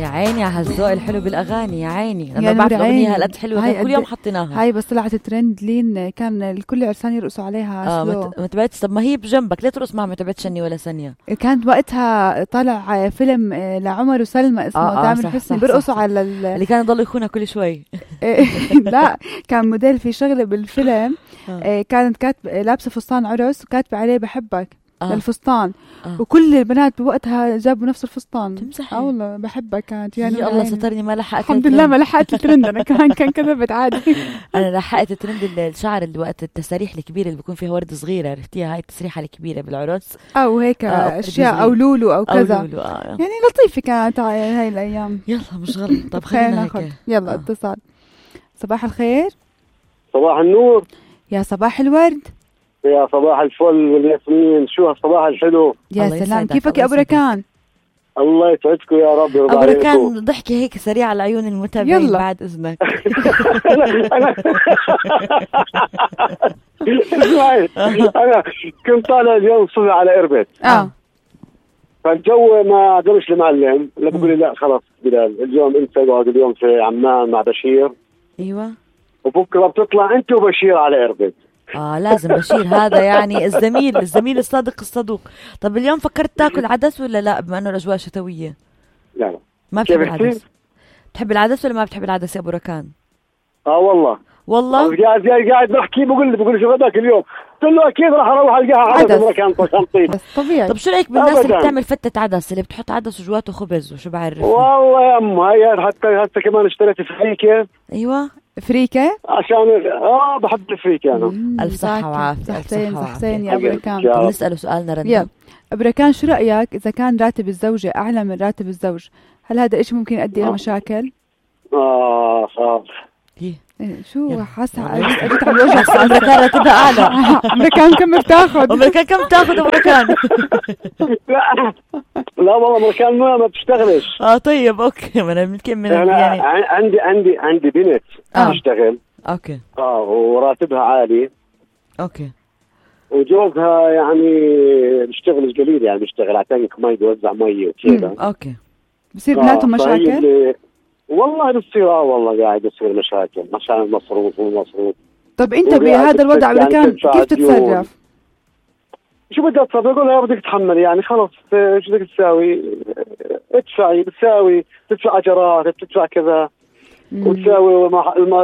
يا عيني على هالذوق الحلو بالاغاني، يا عيني لما يعني بعرف الاغنيه هالقد حلوه كل يوم حطيناها. هاي بس طلعت ترند لين كان الكل عرسان يرقصوا عليها سلو. ما تبعتش. طب ما هي بجنبك ليه ترقص معها؟ ما تبعتش شني ولا ثانيه. كانت وقتها طالع فيلم لعمر وسلمى اسمه تامر حسني بيرقصوا على اللي كان يضل يخونها كل شوي. لا كان موديل في شغله بالفيلم. كانت كاتبه لابسه فستان عرس وكاتبه عليه بحبك للفستان. وكل البنات بوقتها جابوا نفس الفستان. تمزحي؟ والله بحبك كانت يعني يا الله سترني ما لحقت الحمد لله ما لحقت الترند. انا كمان كان كذبت عادي. انا لحقت الترند الشعر اللي وقت التساريح الكبيره اللي بيكون فيها ورد صغيره، عرفتيها؟ هاي التسريحه الكبيره بالعرس او هيك اشياء او لولو او كذا أو لولو. يعني لطيفه كانت هاي الايام. يلا مش غلط. طب خلينا خلينا ناخذ يلا اتصال. صباح الخير. صباح النور. يا صباح الورد. يا صباح الفل والياسمين. شو هالصباح الحلو. يا سلام. كيفك يا ابو ركان؟ الله يسعدكم يا رب. ابو ركان ضحكي هيك سريع على عيون المتابعين بعد اذنك. انا كنت طالع اليوم الصبح على اربد. فالجو ما قدرش المعلم. لا بقول لي لا خلاص بلال اليوم انت اقعد اليوم في عمان مع بشير. ايوه. وبكره بتطلع انت وبشير على اربد. لازم بشير هذا يعني الزميل الصادق الصدوق. طب اليوم فكرت تاكل عدس ولا لا بما انه الاجواء شتويه؟ لا ما بتحب العدس. بتحب العدس ولا ما بتحب العدس يا ابو ركان؟ والله قاعد بحكي بقول شو بدك اليوم. قلت له اكيد راح اروح القاها عدس مكان طشنطين. طبيعي. طب شو رايك بالناس اللي بتعمل فتة عدس اللي بتحط عدس وجواته خبز وشو بعرف؟ والله يا ام هي حتى كمان اشتريت فريكه. ايوه فريكه عشان بحب الفريكه انا. الف صحه وعافيه. صحتين يا ابو ركان. نساله سؤالنا رندا. يلا ابو ركان شو رايك اذا كان راتب الزوجه اعلى من راتب الزوج هل هذا الشيء ممكن يؤدي الى مشاكل؟ شو حاسه اجيت على الوجه. امريكان راتبها اعلى. امريكان كم بتاخذ؟ امريكان كم بتاخذ امريكان؟ لا والله امريكان ما بتشتغلش. طيب اوكي. ما انا يمكن يعني عندي بنت تشتغل. اوكي. وراتبها عالي. اوكي. وجوزها يعني بيشتغل قليل يعني بيشتغل على تانك مي بيوزع مي وكذا. اوكي. بصير بيناتهم مشاكل؟ والله بتصير والله قاعد يصير مشاكل عشان المصروف والمصروف. طب انت بهذا الوضع يعني كيف تتصرف؟ شو بدك تصرف؟ اقول لها بدك تتحمل يعني خلص شو بدك تساوي؟ ادفعي بتساوي تدفع اجارات بتدفع كذا وتساوي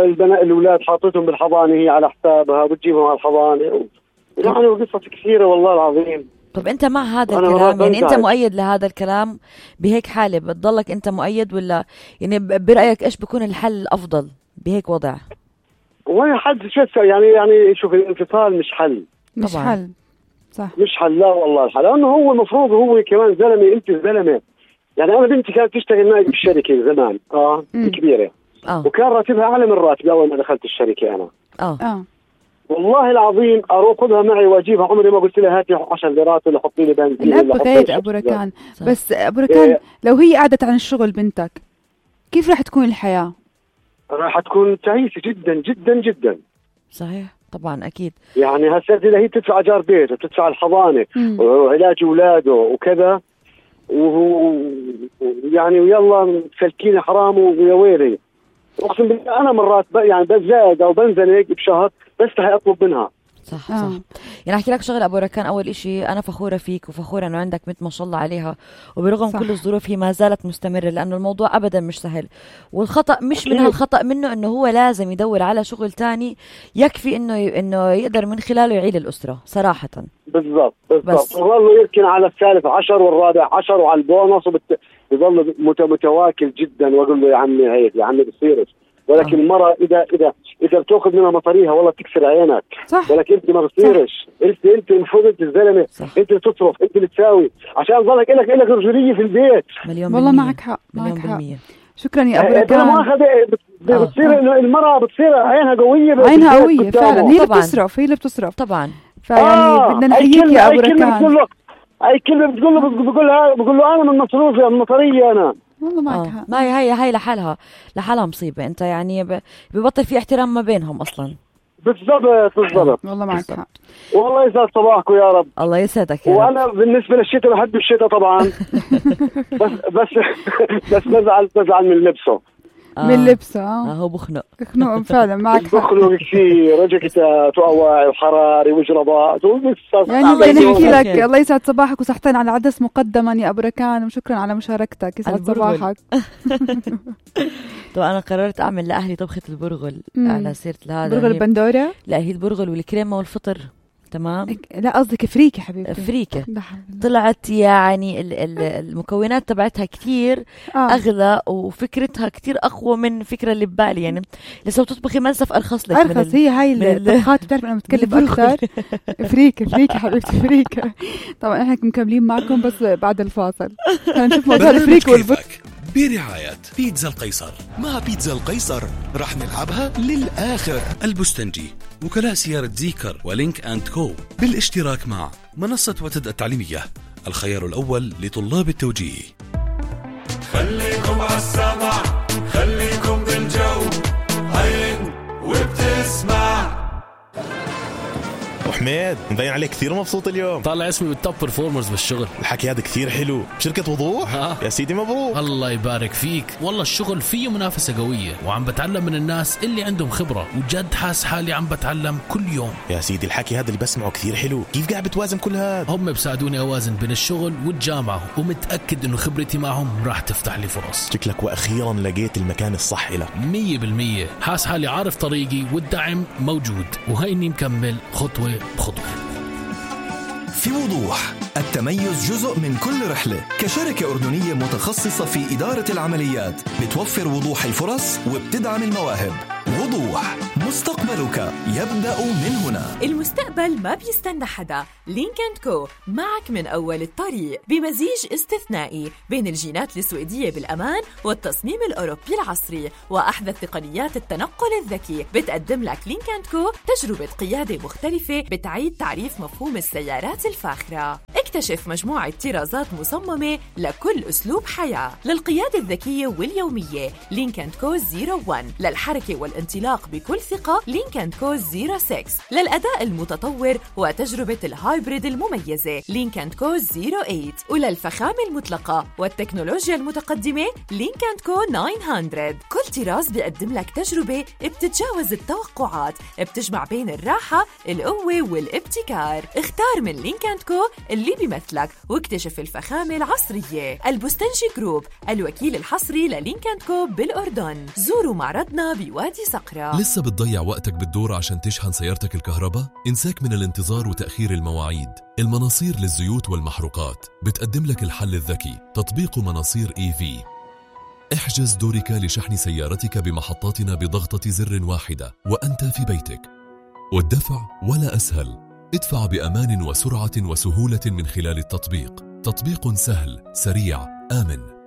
البنات الاولاد حاطتهم بالحضانه هي على حسابها وبتجيبهم على الحضانه يعني قصص كثيره والله العظيم. طب انت مع هذا الكلام يعني انت مؤيد لهذا الكلام بهيك حاله بتضلك انت مؤيد ولا يعني برايك ايش بيكون الحل الافضل بهيك وضع؟ وين حد شو يعني شوف الانفصال مش حل. مش طبعا. حل صح مش حل. لا والله الحل لانه هو المفروض هو كمان زلمه انت زلمه يعني. انا بنتي كانت تشتغل معي بالشركه زمان كبيره وكان راتبها اعلى من راتبي اول ما دخلت الشركه انا. والله العظيم اروح خذها معي واجيبها عمري ما قلت لها هاتي 10 ليرات ولا حطي لي بنزين. الاب غير ابو ركان. بس ابو ركان لو هي قعدت عن الشغل بنتك كيف راح تكون الحياه؟ راح تكون تعيسه جدا جدا جدا. صحيح طبعا اكيد. يعني هسه اذا هي تدفع اجار بيت وتدفع الحضانه وعلاج اولاده وكذا يعني ويلا سلكيني حرام ويا ويلي. اقسم بالله انا مرات يعني بزاد او بنزنق بشهر بستحي اطلب منها. صح يعني احكي لك شغله ابو ركان. اول اشي انا فخوره فيك وفخوره انه عندك بنت ما شاء الله عليها وبرغم كل الظروف هي ما زالت مستمره لانه الموضوع ابدا مش سهل. والخطا مش من هالخطا منه انه هو لازم يدور على شغل تاني يكفي انه يقدر من خلاله يعيل الاسره صراحه. بالضبط وظل يركن على الثالث 10 والرابع 10 وعلى البونص يظل متواكل جدا. واقول له يا عمي هيك يا عمي بصيرش. ولكن المرأة إذا بتأخذ منها مطريها والله تكسر عينك. صح. ولكن أنت ما بتصيرش. أنت المفروض أنت الزلمة. أنت اللي تصرف أنت اللي تساوي عشان ظلك إلك رجولية في البيت. والله معك حق. شكرا يا أبو ركان. أنا ما بتصير إنه المرأة بتصير عينها قوية فعلا. هي اللي بتصرف طبعا. فيعني بدنا نحييك يا أبو ركان. أي كلمة بقول له أنا من مصروفي من مطرية أنا. والله معك حق. ما هي لحالها مصيبة. انت يعني ببطل في احترام ما بينهم اصلا. بالضبط والله معك حق. والله يسعد صباحكم يا رب. الله يسعدك يا رب. وانا بالنسبه للشتاء بحب الشتاء طبعا. بس بزعل من لبسه. من لبسه هو بخنق فعلا معك حق. بخنق كثير، جاكيتات وأواعي وحراري وجرابات يعني بدنا نحكي لك الله يسعد صباحك وصحتين على العدس مقدما يا أبو ركان، وشكرا على مشاركتك. يسعد صباحك. طبعا أنا قررت أعمل لأهلي طبخة البرغل على سيرة هذا برغل البندورة. لا هي البرغل والكريمة والفطر. تمام. لا قصدك فريكة حبيبتي. فريكة طلعت يعني المكونات تبعتها كتير أغلى وفكرتها كتير أقوى من فكرة اللي ببالي. يعني لسه تطبخي منسف أرخص لك. أرخص هي هاي الطبخات بتعرف أنا بتكلف أكثر. فريكة حبيبتي فريكة. طبعا إحنا مكملين معكم بس بعد الفاصل. نشوف موضوع الفريكة والبرغل برعاية بيتزا القيصر. مع بيتزا القيصر رح نلعبها للآخر. البستنجي، وكلاء سيارة زيكر ولينك أند كو، بالاشتراك مع منصة وتد التعليمية، الخيار الأول لطلاب التوجيه. خليكم عالسمع، خليكم بالجو، عين وبتسمع. حميد مبين عليك كثير مبسوط اليوم. طالع اسمي بالتوب برفورمرز بالشغل. الحكي هذا كثير حلو. بشركة وضوح. يا سيدي مبروك. الله يبارك فيك. والله الشغل فيه منافسة قوية وعم بتعلم من الناس اللي عندهم خبرة، وجد حاس حالي عم بتعلم كل يوم. يا سيدي الحكي هذا اللي بسمعه كثير حلو. كيف قاعد بتوازن كل هذا؟ هم بساعدوني أوازن بين الشغل والجامعة، ومتأكد إنه خبرتي معهم راح تفتح لي فرص. شكلك وأخيرا لقيت المكان الصح لك. 100%. حاس حالي عارف طريقي والدعم موجود، وهيني مكمل خطوة بخطوة. في وضوح، التميز جزء من كل رحلة. كشركة أردنية متخصصة في إدارة العمليات بتوفر وضوح الفرص وبتدعم المواهب. وضوح، مستقبلك يبدأ من هنا. المستقبل ما بيستنى حدا. لينك أند كو معك من أول الطريق، بمزيج استثنائي بين الجينات السويدية بالأمان والتصميم الأوروبي العصري وأحدث تقنيات التنقل الذكي. بتقدم لك لينك أند كو تجربة قيادة مختلفة بتعيد تعريف مفهوم السيارات الفاخرة. اكتشف مجموعة طرازات مصممة لكل أسلوب حياة. للقيادة الذكية واليومية لينك أند كو 01، للحركة والانطلاق بكل ثقة لينك أند كو 06، للأداء المتطور وتجربة الهايبريد المميزة لينك أند كو 08، وللفخامة المطلقة والتكنولوجيا المتقدمة لينك أند كو 900. كل طراز بيقدم لك تجربة بتتجاوز التوقعات، بتجمع بين الراحة، القوة والابتكار. اختار من لينك أند كو اللي بيمثلك واكتشف الفخامة العصرية. البستنجي جروب، الوكيل الحصري للينك أند كو بالأردن. زوروا معرضنا بوادي صقرة. لسه بتضيع وقتك بالدور عشان تشحن سيارتك الكهرباء؟ انساك من الانتظار وتأخير المواعيد. المناصير للزيوت والمحروقات بتقدم لك الحل الذكي، تطبيق مناصير EV. احجز دورك لشحن سيارتك بمحطاتنا بضغطة زر واحدة وأنت في بيتك. والدفع ولا أسهل، ادفع بأمان وسرعة وسهولة من خلال التطبيق. تطبيق سهل، سريع، آمن.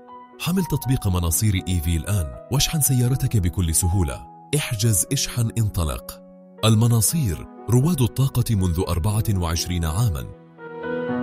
حمل تطبيق مناصير EV الآن واشحن سيارتك بكل سهولة. احجز، اشحن، انطلق. المناصير، رواد الطاقة منذ 24 عاماً.